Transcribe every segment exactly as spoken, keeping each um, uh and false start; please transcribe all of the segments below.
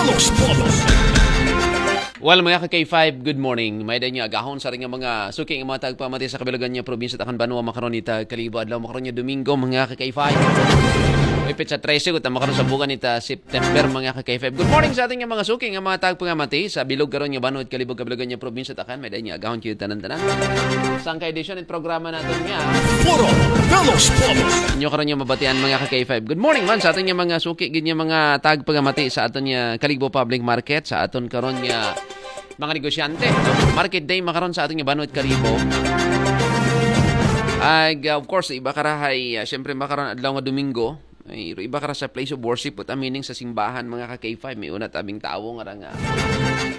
Los Pueblos. Well, mga ka-K five, good morning. May-ada nga agahon sa aton nga mga suki nga mga tagpahamati sa kabilugan nga probinsya, takan banwa, makaron ita Kalibo, adlaw makaron nga Domingo, mga ka-K five. May petsa trese, kuta makaron sa buwan ita September, mga ka-K five. Good morning sa aton nga mga suki nga mga tagpahamati sa bilog karon nga banwa, Kalibo, kabilugan nga probinsya, takan. May-ada nga agahon kayo tanan-tanan. Sangka edisyon it programa naton nga Foro de los Pueblos. Inyo karon nga mabatian, mga ka-K five. Good morning man sa aton nga mga suki gid nga mga tagpahamati sa aton nga Kalibo Public Market, sa aton karon nga mga negosyante, no? Market day makaron sa aton nga banwa, Kalibo. Ag, uh, of course, iba kara hay, uh, syempre, makaron adlaw nga Domingo. Ay, iba kara sa place of worship, puta, meaning sa simbahan, mga ka-K five, may una tabing tawo nga ra nga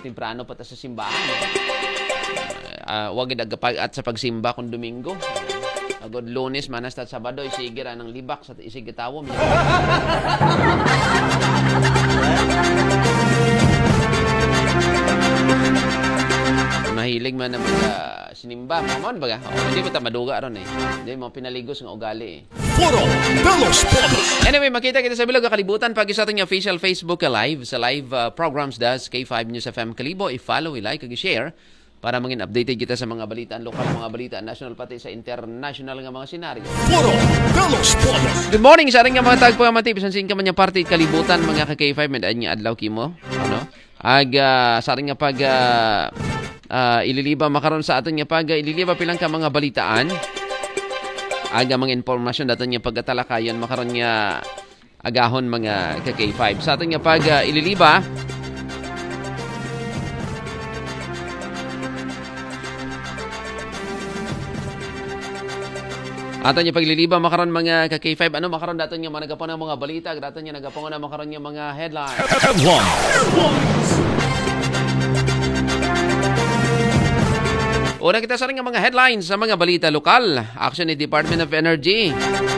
temprano pa ta sa simbahan, eh. Ah, wag gid agapag-at sa pagsimba kung Domingo. Agod Lunes, manas ta Sabado, isigi ra nang libak sa isigi tawo. Mahilig man na mag, ah, sinimba, mga man baga. O, hindi ko ta maduga ron, eh. Hindi mo pinaligos nga ugali, eh. Foro de los Pueblos. Anyway, makita kita sa bilog nga kalibutan pag sa aton nga official Facebook Live, sa live, uh, programs das K five News F M Kalibo. I-follow, i-like, ug i-share para mangin updated kita sa mga balitaan lokal, mga balitaan national, pati sa international nga mga senaryo. Foro de los Pueblos. Good morning sa ating nga mga tagpahamati, bisan sa inka man nga parte kalibutan, mga ka-K five, may-ada nga adlaw kimo. Ano? Ag, ah, sa ating nga pag, ah, ah, ililiba makaron sa aton nga pag, ah, ililiba pilang ka mga balitaan. Ag, ah, mga impormasyon daton nga pagatalakayon makaron nga agahon, mga ka-K five. Sa aton nga pag, ah, ililiba, aton nga pagliliba makaron, mga ka-K five. Ano makaron daton nga mga nagapon ang mga balita, daton nga nagapon na makaron nga mga headlines. Headlines. Una kita sa nga mga headlines sa mga balita lokal. Action ni Department of Energy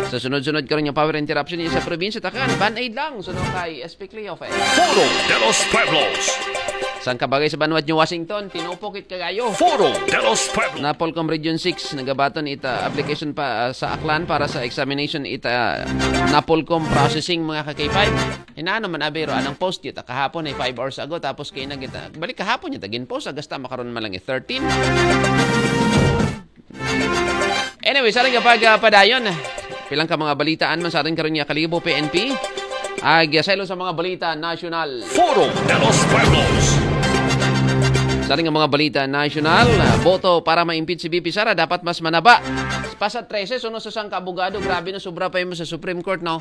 sa sunod-sunod karon nga power interruption sa probinsya, takan. Band-aid lang, suno kay S P Cleofe. Foro de los Pueblos. Sang kabagay sa banwat New Washington, tinupok it kagayo. Foro de los Pueblos. Napolcom Region six, nagabaton ita application pa, ah, sa Aklan para sa examination ita Napolcom processing, mga ka-K five. Hinano man abiro, anang post kita kahapon ay five hours ago, tapos kay na kita. Balik kahapon niya, tagin post, agasta makaron man lang eh, thirteen. Anyway, sa rin kapag, ah, padayon, pilang ka mga balitaan man sa atin karon nga Kalibo P N P. Ag, ah, saylo sa mga balita nasyonal. Foro de los Pueblos. Sa rin nga mga balita nasyonal, ah, boto para ma-impeach si V P Sara dapat mas manaba. Pasa trese, suno sa sang abogado, grabe na sobra pa mo sa Supreme Court, no?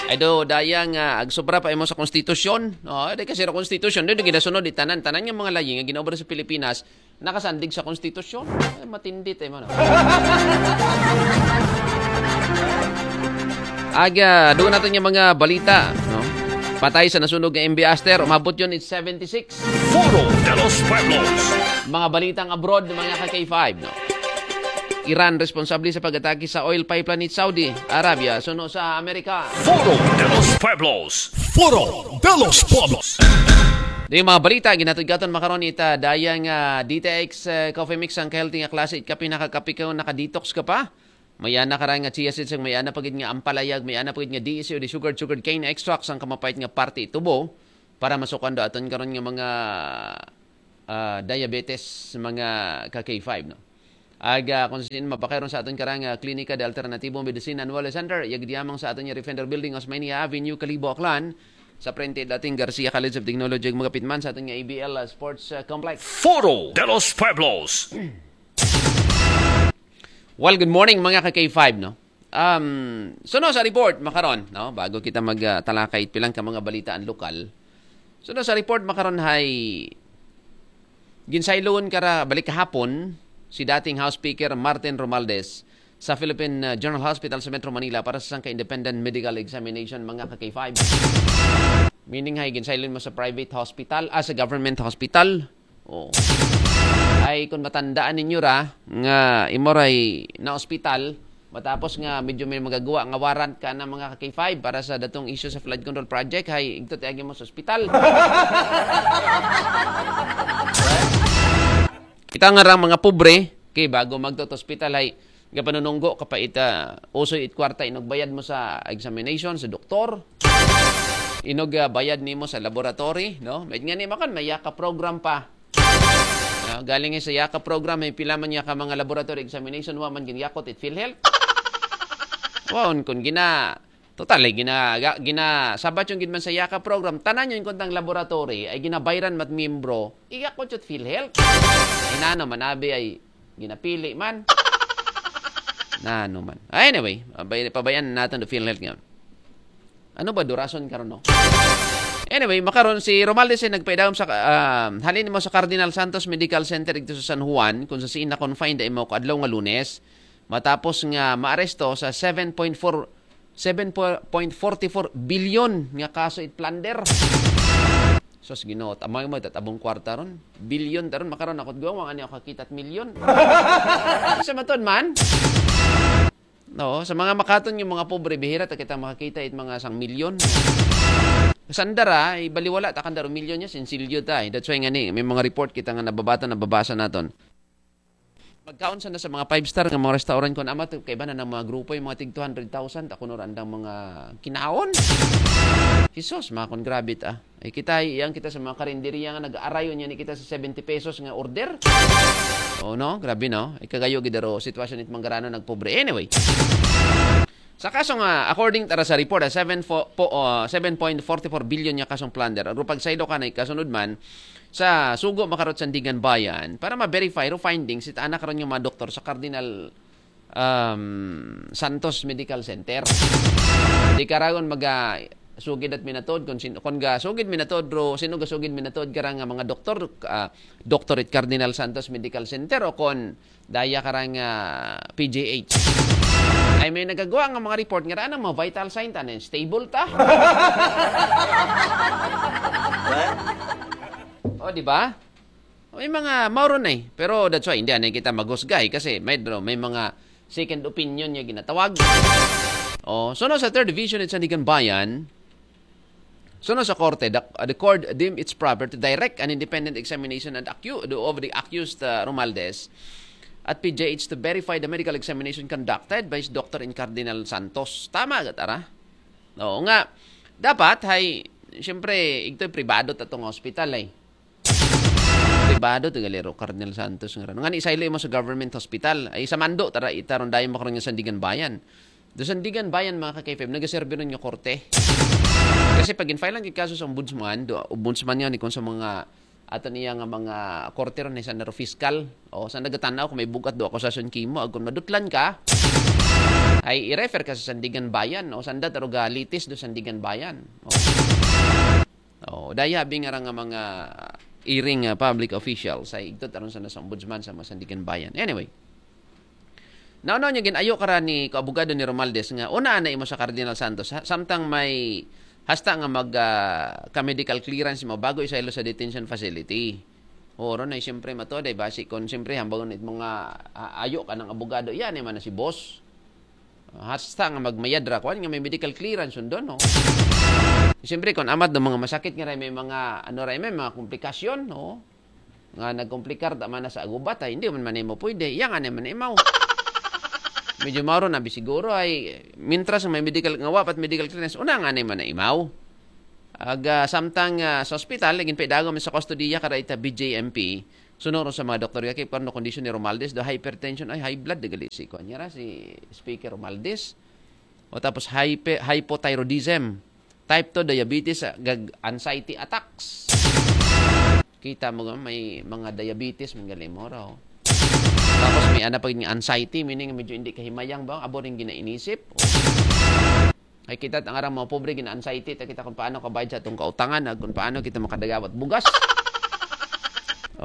Ay do, daya nga, ag sobra pa mo sa konstitusyon. No, di kasi sa konstitusyon, di, di ginasunod, di tanan, tanan nga mga layi nga ginaobra sa Pilipinas, nakasandig sa konstitusyon. Ay, matindi tayo mo, no? Aga, doon natin yung mga balita, no? Patay sa nasunog nga M B Aster, umabot yun, it's seventy-six. Foro de los Pueblos. Mga balitang abroad, mga ka-K five, no? Iran responsable sa pag-atake sa oil pipeline ni Saudi Arabia, suno sa Amerika. Foro de los Pueblos. Foro de los Pueblos. Di mga balita, ginatod-gaton makaron ita dayang, ah, D T X, eh, Coffee Mix, ang healthy nga klase, it kape, nakakape ka, naka-detox ka pa. May ana ka ra nga chia seeds, may ana pagid nga ampalaya, may ana pagid nga D S C o di sugar, sugar cane extracts, ang kamapait nga parte tubo para masukan do aton karon nga mga, ah, diabetes, mga ka-K five, no? Aga, kung sin mapakairon sa aton karang, ah, Klinika de Alternatibo Medicine and Wellness Center, yagdiamang sa aton nga Defender Building, Osmeña Avenue, Kalibo, Aklan, sa frente dating Garcia College of Technology, magapit man sa aton nga A B L, ah, Sports, ah, Complex. Foro de los Pueblos. Well, good morning, mga ka-K five, no? Um, suno sa report makaron, no? Bago kita magtalakay pilang ka mga balitaan lokal. Suno sa report makaron hay ginsayloon kara balik kahapon si dating House Speaker Martin Romualdez sa Philippine, uh, General Hospital sa Metro Manila para sa sangka independent medical examination, mga ka-K five. Meaning hay ginsayloon mo sa private hospital, ah, sa government hospital. Oh. Ay, kung matandaan ninyo ra, nga imo ray na ospital, matapos nga medyo may magagawa nga warrant ka na mga ka-K five para sa datong issue sa flood control project, hay, igto tiagi mo sa ospital. Kita nga ra mga pobre, kay bago magto ospital, hay, Gapanununggo ka pa ita, usoy it kwarta inog bayad mo sa examination, sa doktor. Inog ah, bayad nimo sa laboratory, no? May nga ni makan, may yaka program pa. Ah, galing sa yaka program, may pila man niya ka mga laboratory examination, wa man ginyakot it PhilHealth. Waon, kung gina, total, eh, gina, ga- gina, sabat yung gid man sa yaka program, tanan yung kuntang laboratory, ay ginabayran mat miyembro, iyakot yung PhilHealth. Inano man, abi ay ginapili man. Nano man. Ah, anyway, abay, pabayaan natin the PhilHealth nga. Ano ba durason karon, no? Anyway, makaron si Romaldes ay nagpaidawom sa ah, halin mo sa Cardinal Santos Medical Center dito sa San Juan, kung sa siin na confined ay mo adlaw nga Lunes, matapos nga maaresto sa seven point four seven point forty-four billion nga kaso it plunder. Sus, Ginoo, tamay mo tatabong kwarta ron. Bilyon taron, makaron ako guwang ani ako kakita at milyon. Sa maton man. No, sa mga makaton yung mga pobre, bihira ta kita makakita it mga sang milyon. Sandara, ibaliwala ta kandaro milyon niya, sinsilyo ta. Eh. That's why nga ni, may mga report kita nga nababata, nababasa naton. Magkaon sa na sa mga five star nga mga restaurant kon amat kay ba na ng mga grupo yung mga tig two hundred thousand ako no andang mga kinaon. Jesus, mga kon grabe ta. Ay kita iyang kita sa mga karinderiya nga nag-aarayo niya ni kita sa seventy pesos nga order. Oh no, grabe no. Ay kagayo gidaro sitwasyon it manggarano nagpobre. Anyway, sa kaso nga, according tara sa report, ah, seven fo- po, ah, seven point forty four billion nga kasong plunder. Ang rupag saylo ka na ikasunod man, sa sugo makarot sa Sandigan Bayan para ma-verify ro findings it anak ron yung mga doktor sa Cardinal um, Santos Medical Center. Di karagon maga sugid at minatod kung sin kung ga sugid minatod ro sino ga sugid minatod kara nga mga doktor ah, doktor it Cardinal Santos Medical Center o kon daya karang ah, P G H. Ay may nagagawa nga mga report nga raan ang mga vital sign tanan stable ta. O, di ba? May mga mauron eh. Pero that's why hindi anay kita maghusgay kasi may may mga second opinion nga ginatawag. Oh, so no, sa third division it Sandigan Bayan, so no, sa korte, the, the court deemed it's proper to direct an independent examination and acu- of the accused uh, Romaldes at P J H to verify the medical examination conducted by his doctor in Cardinal Santos. Tama gatara? Oo nga. Dapat hay siyempre igtoy pribado ta tong hospital ay. Pribado to galero Cardinal Santos nga ran. Nga ni isaylo mo sa government hospital. Ay sa mando tara itaron dayon makaron nga Sandigan Bayan. Do Sandigan Bayan mga ka-K F M nagaserbi ron nga korte. Kasi pag in-file lang kaso sa ombudsman, do ombudsman nga ni kung sa mga ato niya nga mga korte ron sa naro fiscal. O sa nagatanaw kung may bugat do akusasyon kimo, agkon madutlan ka, ay i-refer ka sa Sandigan Bayan o sanda taro ga litis do Sandigan Bayan. O. Oh, daya bingara nga mga iring uh, public officials ay igtot aron sa nasa ombudsman sa Masandigan Bayan. Anyway, naunaw niya ginayo kara ni ko abogado ni Romaldes nga una na imo sa Cardinal Santos ha? Samtang may hasta nga mag uh, ka medical clearance mo bago isaylo sa detention facility. Oro na siyempre mato day basi kon siyempre hambagon it mga uh, ayo ka ng abogado yan man na si boss. Hasta nga magmayad ra kuan nga may medical clearance undon no. Siyempre kon amat do mga masakit nga ray may mga ano ray may mga komplikasyon no. Nga nagkomplikar ta man sa agubat ay hindi man man mo pwede. Iya nga man imaw. Medyo maro na bisiguro ay mintras may medical nga wapat medical clearance una nga man imaw. Aga samtang uh, sa ospital naging pedago man sa kustodiya kada ita B J M P. Sunod sa mga doktor, kay ano kondisyon ni Romaldes, do hypertension, ay high blood, dagali si kuan niya si Speaker Romaldes. O tapos hype, hypothyroidism, type two diabetes, ah, gag anxiety attacks. Kita mo nga may mga diabetes, mga galing mo raw. Tapos may ana pag anxiety, meaning medyo hindi kahimayang ba, abo rin ginainisip. Ay kita ang arang mga pobre gina-anxiety ta kita kung paano kabayad sa atong kautangan ag kung paano kita makadagawat bugas.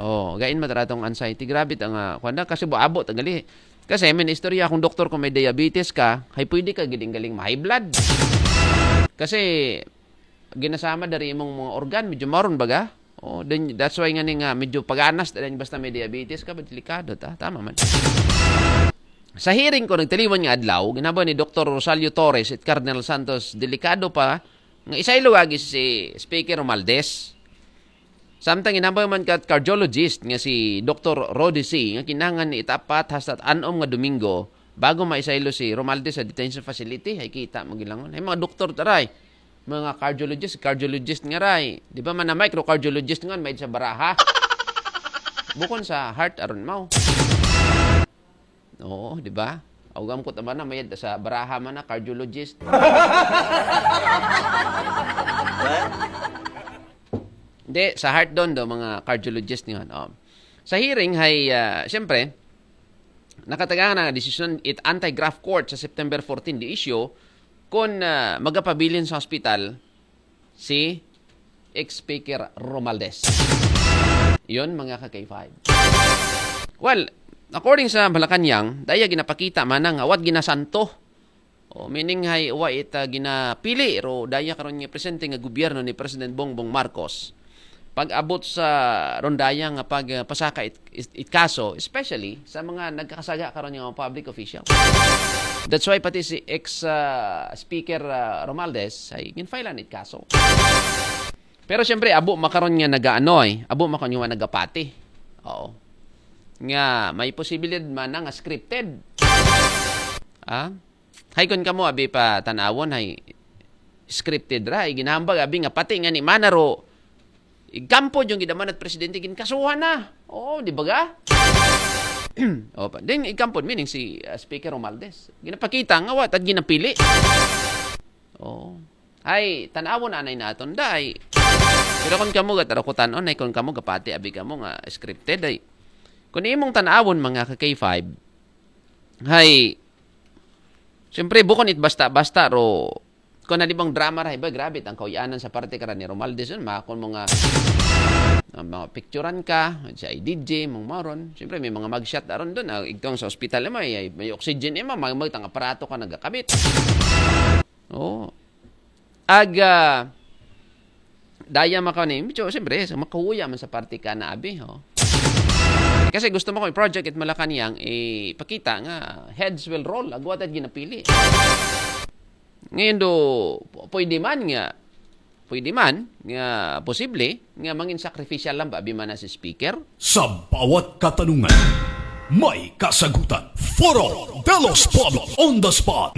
Oh, gain matara tong anxiety. Grabe ta nga kuan na kasi buabo ta gali. Kasi may istorya akong doktor kung may diabetes ka, hay pwede ka giding galing ma-high blood. Kasi ginasama dari imong mga organ medyo maron baga. Oh, then that's why nga ni nga medyo paganas ta basta may diabetes ka, delikado ta. Tama man. Sa hearing ko nagtaliwan nga adlaw, ginaba ni Doktor Rosalio Torres at Cardinal Santos, delikado pa nga isaylo agi si Speaker Romaldes. Samtang ginaba man kat cardiologist nga si Doktor Rodi C nga kinahanglan ni itapat hasta anom nga Domingo Bago maisaylo si Romualdez sa detention facility, hay kita mo gilangon. Hay mga doktor taray, mga cardiologist, cardiologist nga ray. Di ba man na microcardiologist nga may sa baraha? Bukon sa heart aron mao. Oo, di ba? Augam ko tama na mayad sa baraha man na cardiologist. Hindi, sa heart doon do, mga cardiologist nga. Oh. Sa hearing, hay, ah, siyempre, nakatagaan na desisyon it anti-graft court sa September fourteen di issue kung ah, magapabilin sa hospital si ex-speaker Romualdez. Yun, mga ka-K five. Well, according sa Malacanang, daya ginapakita man nga wat ginasanto. O, meaning hay wa ita ginapili ro daya karon nga presente nga gobyerno ni President Bongbong Marcos. Pag-abot sa rondaya nga pagpasaka it, it, it kaso, especially sa mga nagkakasaga karon nga mga public official. That's why pati si ex ah, speaker ah, Romualdez ay ginfilean it kaso. Pero siyempre, abo makaron nga nagaano eh. Abo makaron nga nagapati. Oo. Nga may posibilidad man nga scripted. Ah? Hay kon kamo abi pa tanawon hay scripted ra, ay ginahambag abi nga pati nga ni manaro igkampod yung gidaman at presidente ginkasuhan na. Oo, di ba ga? O, pa. Then igkampod meaning si ah, Speaker Romualdez. Ginapakita nga wa tad ginapili. Oo. Ay, tanawon anay naton day. Pero kung kamo gatarakutan on, ay kung kamo gapati abi kamo nga scripted ay. Kung imong tanawon mga ka K five, hay siyempre bukon it basta-basta ro kung na di bang drama ra ba grabe ang kauyanan sa parte kara ni Romualdez yun, makon mo nga ah, mga picturean ka sa I D G mong maron. Siyempre may mga mugshot aron doon. Ah, igtong sa ospital mo ay may oxygen ima, may magtang aparato ka nagakabit. Oo. Ag ah, daya maka ni, medyo siyempre sa makahuya man sa parte ka na abi, ho. Kasi gusto mo kung project it Malacanang ipakita nga heads will roll, agwat at ginapili. Ngayon do, p- pwede man nga, pwede man nga posible nga mangin sacrificial lang ba abi man na si speaker? Sa bawat katanungan, may kasagutan. Foro de los Pueblos on the spot.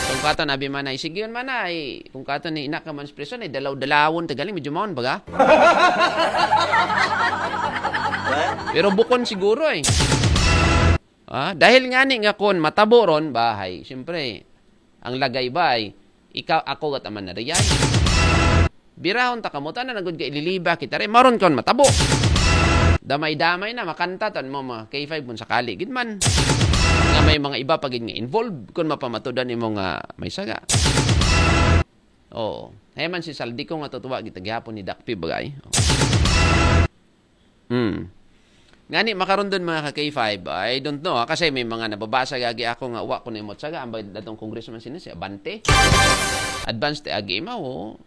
Kung kato na abi man ay sige man ay kung kato ni ina ka man sa prison ay dalaw-dalawon tagali medyo maon baga. Pero bukon siguro eh. Ah, dahil nga ni nga kon matabo ron bahay, siyempre, ang lagay ba ay ikaw ako gat aman na riyay. Birahon ta kamo tanan nagud ka ililiba kita re maron kon matabo. Damay-damay na makanta tan mo mga K five kung sakali gid man. Nga may mga iba pa gid nga involved kun mapamatudan imo nga may saga. Oo. Hay man si Saldi ko nga tutuwa gitagyapon ni Dakpi bagay. Oo. Hmm. Ngani makaron dun mga ka K five, I don't know ha, kasi may mga nababasa gagi ako nga wa ko na imot saga, ambay datong congressman sino si Abante. Advance te agi imaw, oh.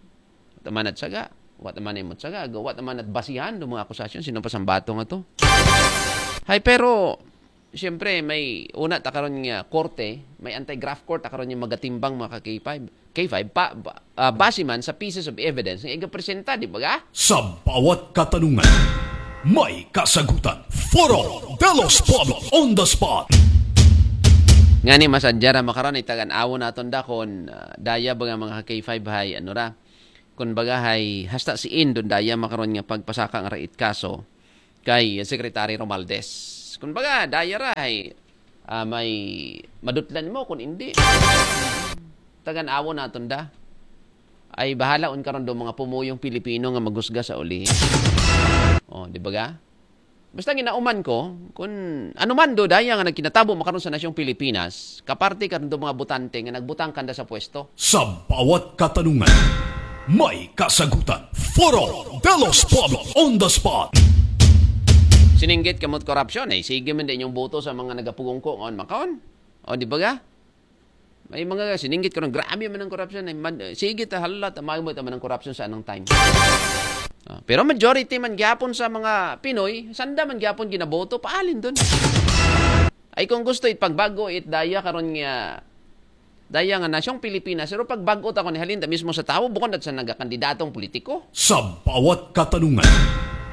Tamanat saga, wa taman imot saga, wa tamanat basihan do mga akusasyon, sino pa sambato nga to. Hay pero siyempre may una ta karon nga korte, may anti-graft court ta karon nga magatimbang mga ka K five. K five pa, ba, ah, base man sa pieces of evidence nga igapresenta, di ba ga? Sa bawat katanungan, may kasagutan. Foro de los Pueblos on the spot. Ngani masadya ra makaron itagan awon naton dakon ah, daya ba nga mga K five hay ano ra. Kun baga hay hasta si Indon daya makaron nga pagpasaka nga rait kaso kay Secretary Romaldes. Kun baga daya ra hay ah, may madutlan mo kun indi. Tagan awon naton da. Ay bahala un karon do mga pumuyong Pilipino nga magusga sa uli. Oh, di ba ga? Basta ginauman ko, kun ano man do daya nga nagkinatabo makaron sa nasyong Pilipinas, kaparte karon do mga botante nga nagbutang kanda sa pwesto. Sa bawat katanungan, may kasagutan. Foro de los Pueblos on the spot. Sininggit kamot korupsyon, eh, sige man din yung boto sa mga nagapugong ko ngayon makaon. O, di ba ga? May mga sininggit ko ng grabe man ang korupsyon. Ay, man, sige ta halat, amay mo ito man ang korupsyon sa anong time. Ah, pero majority man gyapon sa mga Pinoy, sanda man gyapon ginaboto, paalin dun. Ay kung gusto it pagbago it daya karon nga daya nga nasyong Pilipinas, pero pagbago ta ko ni halin ta mismo sa tawo, bukon dat sa nagakandidatong politiko. Sa bawat katanungan,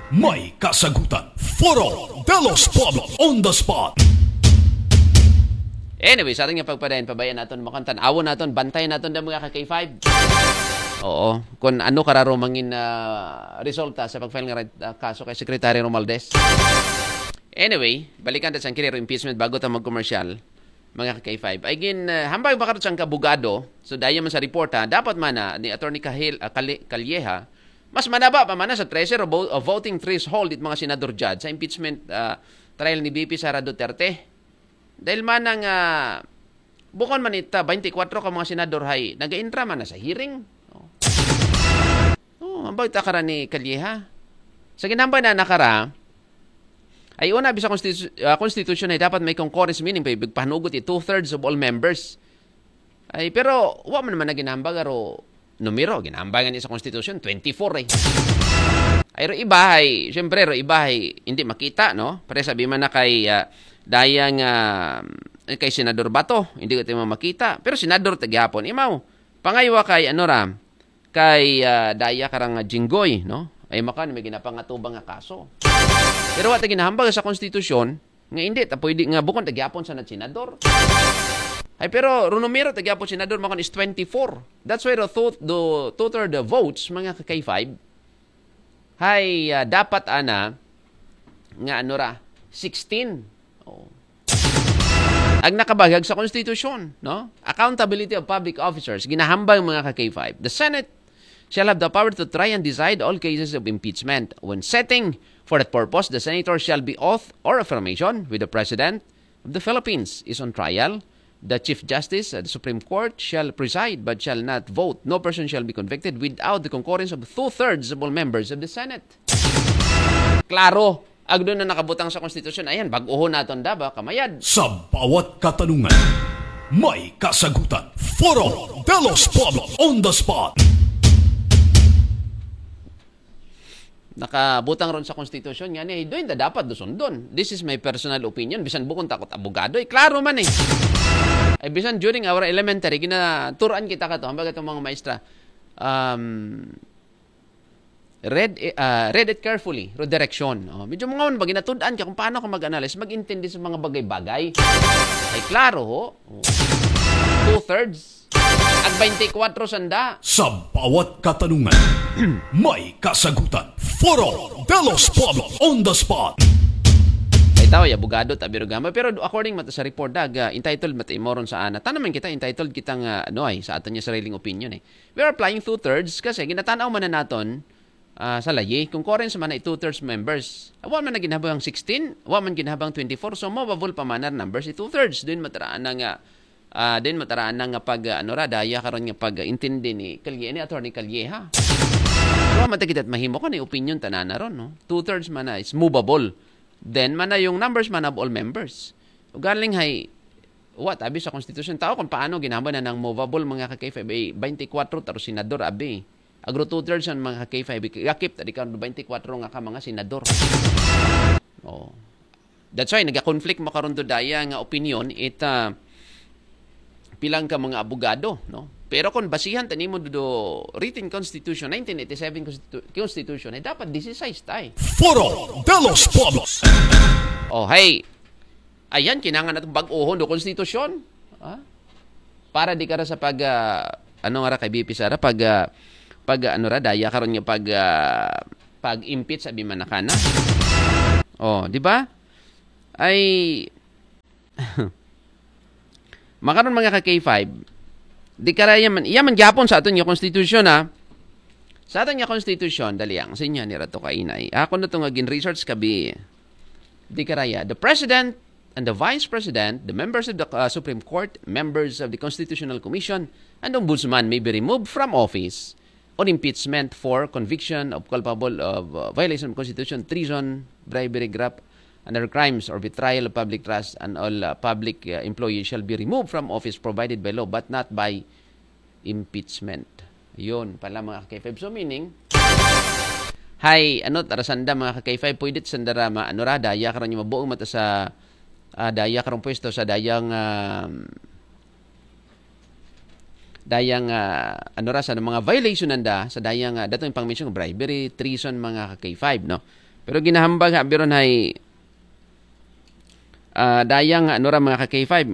may kasagutan. Foro de los Pueblos on the spot. Anyway, sa aton nga pagpadayon, pabayaan naton, makantan, awon naton, bantayan naton da, mga ka-K five. Oo. Kung ano kararo mangin ah, resulta sa pag-file nga red, ah, kaso kay Secretary Romualdez. Anyway, balikan ta sa kini ro impeachment bago ta mag-commercial, mga ka-K five. Ay gin, ah, hambal ba karon sa kabugado? So, daya man sa report, ha, dapat man na ni Attorney Kahil, ah, Kali- Calleja, mas manaba pa man na sa trese ro vo- ah, voting threshold it mga senador judge sa impeachment ah, trial ni V P Sara Duterte. Dahil man nga, bukon man ita, twenty-four ka mga senador hay, nag-intra man na sa hearing. Oh, oh, ambay ta kara ni Calleja. Sa ginambay na nakara, ay una, bisa konstitu- ah, konstitusyon ay dapat may concurrence, meaning pa ibig panugot i two-thirds of all members. Ay, pero wa man naman na ginambag aro numero, ginambag ni sa konstitusyon, twenty-four eh. Ay, ro iba ay, siyempre, ro iba ay, hindi makita, no? Pare sabi man na kay, ah, dayang, ah, kay Senador Bato, hindi ko tayo makita. Pero senador ta gihapon, imaw, pangaywa kay, ano ra, kay ah, daya karang ah, Jinggoy, no? Ay makan, may ginapangatubang nga kaso. Pero wa ta ginahambag sa konstitusyon, nga hindi, ta pwede nga bukon ta gihapon sa nat senador. Ay, pero ro numero ta gihapon senador, makan is twenty-four. That's why the two, the two-third votes, mga ka-K five, hay ah, dapat ana, nga ano ra, sixteen. Oh. Ang nakabagag sa konstitusyon, no? Accountability of public officers, ginahambal, mga ka-K five. The Senate shall have the power to try and decide all cases of impeachment. When setting for that purpose, the senator shall be oath or affirmation with the President of the Philippines is on trial. The Chief Justice of the Supreme Court shall preside but shall not vote. No person shall be convicted without the concurrence of two-thirds of all members of the Senate. Klaro, agdo na nakabutang sa konstitusyon. Ayan, bag-ohon naton da ba, kamayad. Sa bawat katanungan, may kasagutan. Foro de los Pueblos on the spot. Nakabutang ron sa konstitusyon nga ni, doon da dapat do sundon. This is my personal opinion. Bisan bukon takot abogado, eh, klaro man eh. Ay bisan during our elementary, ginaturan kita kato, hambag itong mga maestra. Um, read, eh, ah, read it carefully, ro direksyon. Oh, medyo mga ba, ginatudan ka kung paano ka mag-analyze, mag-intindi sa mga bagay-bagay. Ay klaro ho. Oh. Two-thirds. Ag twenty-four sanda. Sa bawat katanungan, may kasagutan. Foro de los Pueblos on the spot. Ay tao, abogado, tabi ro gama. Pero according mata sa report, dag, ah, entitled mata imoron sa ana. Tanaman kita, entitled kita nga, ano ay, sa aton nga sariling opinion eh. We are applying two-thirds kasi ginatanaw man na naton ah, sa layi. Concurrence man na i two-thirds members. Wa man na ginhabang sixteen, wa man ginhabang twenty-four, so movable pa man na numbers i two-thirds. Doon mataraan na nga, ah, doon mataraan na nga pag, ah, ano ra, daya karon nga pag-intindi ni Calleja, ni Attorney Calleja. So, wa man ta kita mahimo ka ni opinion tanana ron, no? Two-thirds man na is movable. Then, man na yung numbers man of all members. Ugaling hay, wa, tabi sa konstitusyon. Tao kung paano ginhambal na ng movable, mga ka-K five, twenty-four taro senador, abi. Agro two-thirds ang mga ka-K five, gakip, tadi ka twenty-four nga ka mga senador. Oh. That's why, nagka-conflict mo karon to daya nga opinion, it, ah, pilang ka mga abogado, no? Pero kung basihan tanimo do written constitution, nineteen eighty-seven constitu- constitution, ay dapat sixteen tayo. Foro de los Pueblos. Oh, hey. Ayan, kinangan natin bag-ohon do konstitusyon. Ha? Para di ka ra sa pag, ah, ano nga ra kay V P Sara, pag, ah, pag, ah, ano ra, daya karon nga pag, ah, pag-impeach, sabi man na kana. Oh, di ba? Ay, makaron mga ka-K five, di ka ra yaman, yaman gyapon sa aton nga konstitusyon, ha? Sa aton nga konstitusyon, dali ang, sa inyo, ni Rato Kainay. Ako na to nga gin-research kabi, di karaya. The President and the Vice President, the members of the uh, Supreme Court, members of the Constitutional Commission, and Ombudsman may be removed from office on impeachment for conviction of culpable of uh, violation of Constitution, treason, bribery, graft, and other crimes or betrayal of public trust, and all uh, public uh, employees shall be removed from office provided by law but not by impeachment. Yun pala, mga ka-K five. So meaning, hay, ano, tara sanda, mga ka-K five, pwede sanda ra ma-, ano ra, daya karon yung mabuong mata sa, ah, daya karong pwesto sa dayang, ah, dayang, ah, ano ra, sa mga violation nanda, sa dayang, ah, datong pang-mention, bribery, treason, mga ka-K five, no? Pero ginahambag, ha, biron hay, ah, dayang, ano ra, mga ka-K five,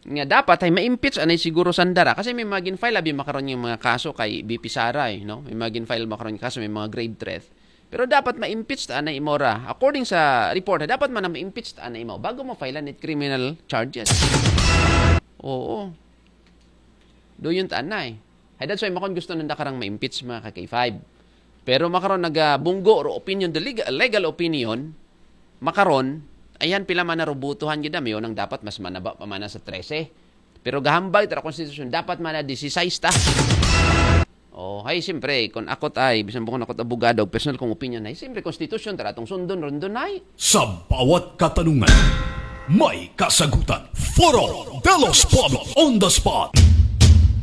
nga dapat ay ma-impeach anay siguro sanda ra. Kasi may mga gin-file abi makaron nga mga kaso kay V P Sara, eh, no? May mga gin-file makaron nga kaso, may mga grave threat. Pero dapat ma-impeach ta anay imo ra. According sa report, dapat man na ma-impeach ta anay imo bago mo file it criminal charges. Oo. Duyon ta anay. Hay, that's why makaron gusto nanda karang ma-impeach, mga ka-K five. Pero makaron nagabunggo ro opinion, the legal, legal opinion, makaron, ayan, pila man na ro botohan gid, amiyo nang dapat mas manaba pa man na sa trese. Pero gahambal ta ra konstitusyon, dapat man na disisais ta. Oh, hay, siyempre, kung ako tay, bisan po kung ako abogado, personal kong opinion, hay, siyempre, konstitusyon, ta ra tong sundon, rundon, hay. Sa bawat katanungan, may kasagutan. Foro de los Pueblos on the spot.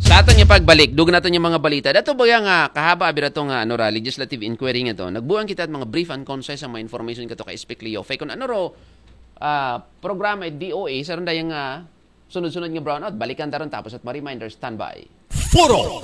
Sa aton nga pagbalik, dugang naton nga mga balita. Dato ba nga kahaba abi ra to nga, ano ra, legislative inquiry nga to? Nagbuang kita mga brief and concise ang mga information kato kay Speak Leo. Fay kung ano ro, ah, programa at D O A, sa ron dayang, ah, sunod-sunod nga brownout, balikan ta ron tapos at mga reminder, standby. Foro